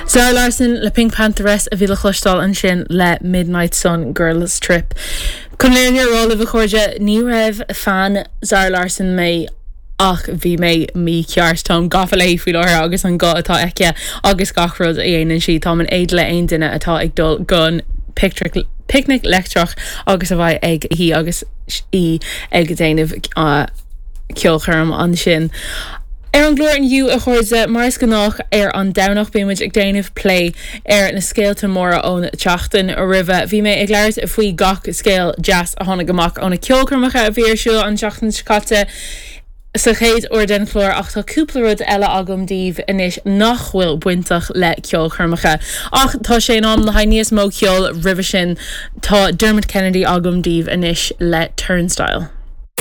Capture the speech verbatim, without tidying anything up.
Zara Larsson le PinkPantheress a bhí le cloisteáil ansin le Midnight Sun Girls Trip. Chun an fhírinne a rá libh a chairde ní raibh fan Zara Larsson mé ach bhí mé mícheart táim gafa léi faoi láthair agus an guth atá aici agus gach rud a dhéanann sí táim in éad le aon duine atá ag dul gon Picnic Leictreach agus a bheidh ag í agus í ag déanamh uh, ceolchoirm ansin. Ar an gclár inniu a chairde mar is gnách ar an Domhnach bímid ag déanamh plé ar na scéalta móra ón tseachtain roimhe. Bhí mé ag labhairt faoi gach scéal deas a tháinig amach ó na ceolchoirmeacha a bhí ar siúl an tseachtain seo caite. Sa chéad uair den chlár ach tá cúpla rud eile agam daoibh anois nach bhfuil bainteach le ceolchoirmeacha. Ach tá sé in am le haghaidh níos mó ceoil roimhe sin tá Dermot Kennedy agam daoibh anois le Turnstile.